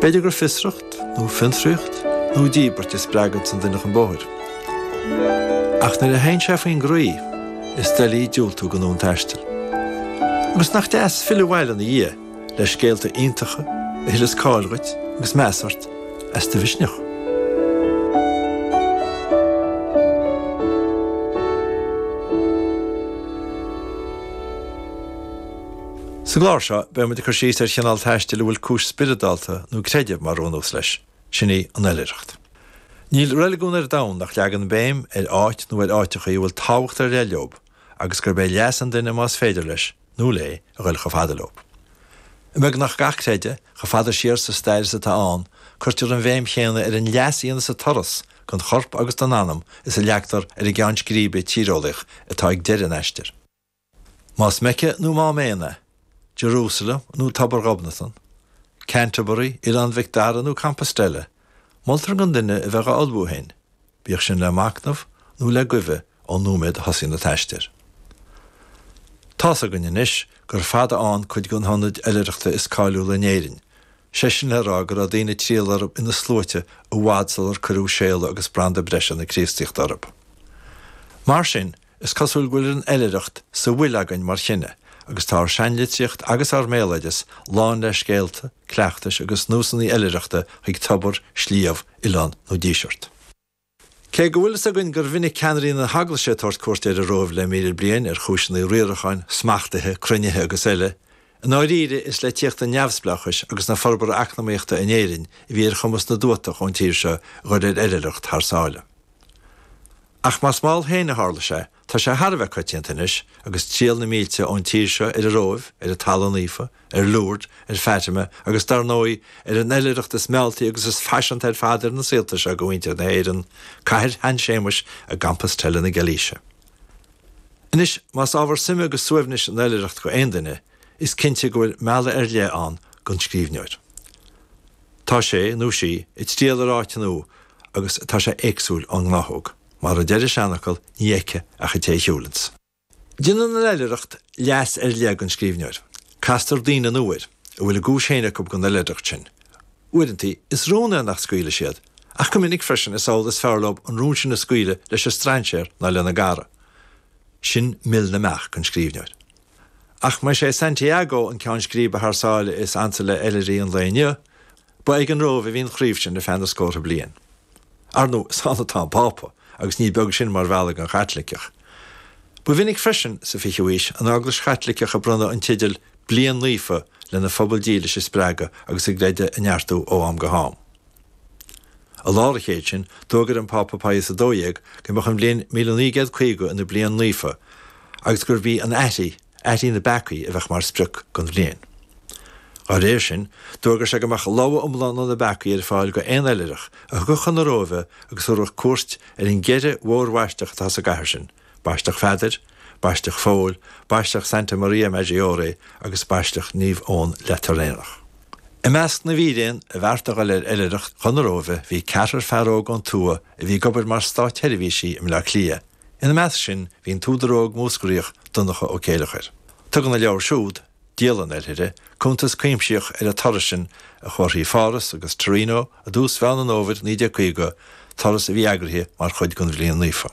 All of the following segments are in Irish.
B'fhéidir gur fiosracht, nó fiontraíocht, nó díbirt a spreaganns an duine chun bóthair. Ach nuair a théann sé faoin gcroí, is doiligh diúltú don fhonn taistil. Agus nach deas filleadh abhaile ina dhiaidh le scéalta iontacha a thuilleas cáil dhuit agus meas ort as do mhisneach. Sa gclár seo, beidh muid ag cur síos ar chineál taistil a bhfuil cúis spioradálta nó creidimh mar bhunús leis, sin í an oilithreacht. Níl reiligiún ar domhan nach leagann béim ar áit nó ar áiteachaí a bhfuil tábhacht ar leith leob agus gurb é leas an duine más féidir leis, nó léi, a ghoil chomh fada leob. I mbeagnach gach creideamh, chomh fada siar sa stair is atá ann, cuirtear an bhéim chéanna ar an leas a dhéanas an turas don chorp agus don anam is a leagtar ar an gceann scríbe tíreolaíoch atá ag deireadh an aistir. Más Meice nó Mám Éan é, Jerusalem nó Tobar Ghobnatan, Canterbury, Oileán Mhic Dara nó Compostela, moltar don duine a bheith dhá ullmhú féin, bíodh sin le machnamh nó le guibhe ón nóiméad a thosaíonn an t-aistear. Tá's againn anois gur fada ann cuid de na hionaid oilithreachta is cáiliúla in Éirinn, sé sin le rá go raibh daoine ag triall orthu ina sluaite i bhfad sular cuireadh séala agus branda breise na Críostaíochta orthu. Mar sin, Is cosúil go bhfuil an oilithreacht sa bhfuil againn mar chine agus tá ár seanlitríocht agus ár mbéaloideas lán le scéalta, cleachtais agus nósanna oilithreachta chuig tobar, sliabh, oileán nó díseart. Cé go bhfuil fhios againn gur mhinic ceannairí na hEaglaise ag tabhairt cuairte ar an Róimh le 1,000 bliain ar chúiseanna riaracháin, smachtaithe, cruinnithe agus eile, i ndáiríre is le tíocht an neamhspleáchais agus na forbartha eacnamaíochta in Éirinn a bhí ar chumas na dtuatach ón tír seo a ghoil ar oilithreacht thar sáile. Ach más mall féin a tharla sé, tá sé thar a bheith coitianta anois, agus triall na mílte ón tír seo ar an Róimh, ar an Talamh Naofa, ar Lourdes, ar Fatima, agus dar ndóigh, ar an oilithreacht is mealltaí agus is faiseanta ar fad ar na saolta seo do mhuintir na hÉireann, Cathair Shan Séamuis i gCompostela na Gailíse. Anois, más ábhar suime agus suaimhnis an oilithreacht go aon duine, is cinnte go bhfuil mealladh ar leith ann don scríbhneoir. Tá sé, nó sí, ag triall ar áit nua agus tá sé éagsúil ón ngnáthóg. Mar a deir an seanfhocal, ní fheiceann ach an té a shiúlanns. Déanann an oilithreacht leas ar leith don scríbhneoir. Castar daoine nua air, a bhfuil a gcúis féin acu don oilithreacht sin. Uaireanta, is rún é nach scaoilfidh siad, ach go minic freisin is amhlaidh is fearr leo an rún sin a scaoileadh leis an strainséir ná lena gcara. Sin mil na mbeach don scríbhneoir. Ach más é Santiago an ceann scríbe thar sáile is ansa le oilithrigh an lae inniu, Ba ag an Róimh a bhí an chraobh sin ar feadh na scórtha bliain. Ar ndóigh, is ann atá an Pápa, agus ní beag sin mar mhealladh don Chaitliceach. Ba mhinic freisin, sa fichiú haois, an Eaglais Chaitliceach ag bronnadh an teidil 'Bliain Naofa' lena phobal dílis a spreagadh agus a gcreideamh a neartú ó am go ham. I lár an chéid sin, d'fhógair an Pápa Pius 12 go mbeadh an bhliain 1950 ina bliain naofa agus gurb í an aithrí, aithrí na bpeacaí, a bheadh mar sprioc don bhliain. Dá réir sin, d'fhógair sé go mbeadh logha iomlán ó na peacaí ar fáil go aon oilithreach a thiocfadh chun na Róimhe agus a thabharfadh cuairt ar an gceithre mhórbhaisleach atá sa gcathair sin, Baisleac Pheadair, Baisleac Phóil, Baisleac Santa Maria Maggiore agus Baisleac Naomh Eoin Lateranach. I measc na bhfíréan a bheartaigh dul ar oilithreacht chun na Róimhe bhí ceathrar fear óg ón tuath a bhí ag obair mar státsheirbhísigh i mBleá Cliath. Ina measc sin bhí an t-údar óg Múscraíoch Donncha Ó Céileachair. Tugann a leabhar siúd, Dialann Oilithre, cuntas cuimsitheach ar an turas sin a chomharthaí Pháras agus Torino i dtús Mheán an Fhómhair 1950, turas a bhí eagraithe mar chuid den Bhliain Naofa.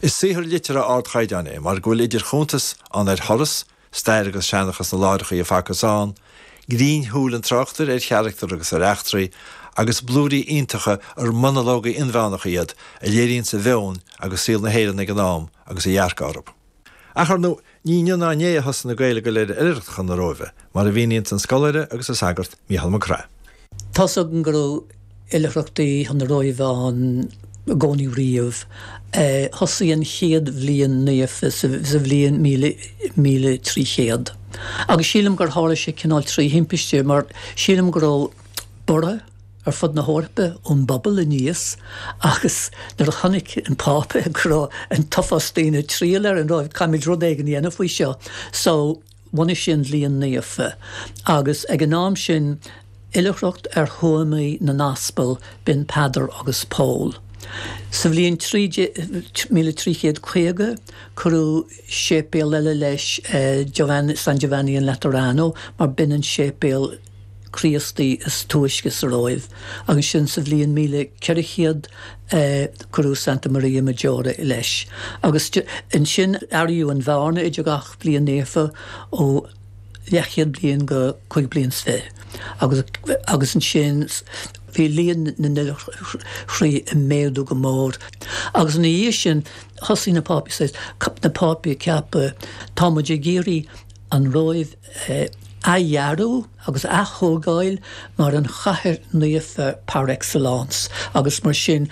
Is saothar liteartha ardchaighdeáin é mar go bhfuil idir chuntas ann ar thuras, stair agus seanchas na láithreacha a facthas ann, grinnshúil an tráchtaire ar charachtair agus ar eachtraí, agus blúirí iontacha ar monalógaí inmheánacha iad a léiríonns a mheon agus saol na hÉireann ag an am agus a dhearcadh orthu. Ach, ar ndóigh, ní inniu ná inné a thosaigh na Gaeil ag dul ar oilithreacht chun na Róimhe, mar a mhíníonns an scoláire agus an sagart Mícheál Mac Craith. Tá's againn go raibh oilithreachtaí chun na Róimhe ann i gcónaí riamh. Thosaigh an chéad bhliain naofa sa bhliain 1300. Agus sílim gur tharla sé cineál trí thimpiste mar sílim go raibh borradh ar fud na hEorpa ón bpobal aníos agus nuair a chonaic an Pápa go raibh an t-uafás daoine ag triall ar an Róimh, caithfimid rud éigin a dhéanamh faoi seo. So, bhunaigh sé an Bhliain Naofa agus ag an am sin, oilithreacht ar thuamaí na n-aspal, b'in Peadar agus Pól. Sa bhliain 1350, cuireadh séipéal eile leis, Giovanni, San Giovanni in Laterano, mar b'in an séipéal. Críostaí is túisce sa Róimh agus ansin sa bhliain 1400 cuireadh Santa Maria Maggiore leis. Agus ansin athraíodh an bhearna idir gach bliain naofa ó leathchéad bliain go 25 bliain agus agus ansin bhí líon na n-oilithrí ag méadú go mór. Agus ina dhiaidh sin thosaigh na Pápaí na Pápaí ag ceapadh tá muid ag iarraidh an Róimh a athdhearadh agus a aththógáil mar an chathair naofa par excellence agus mar sin.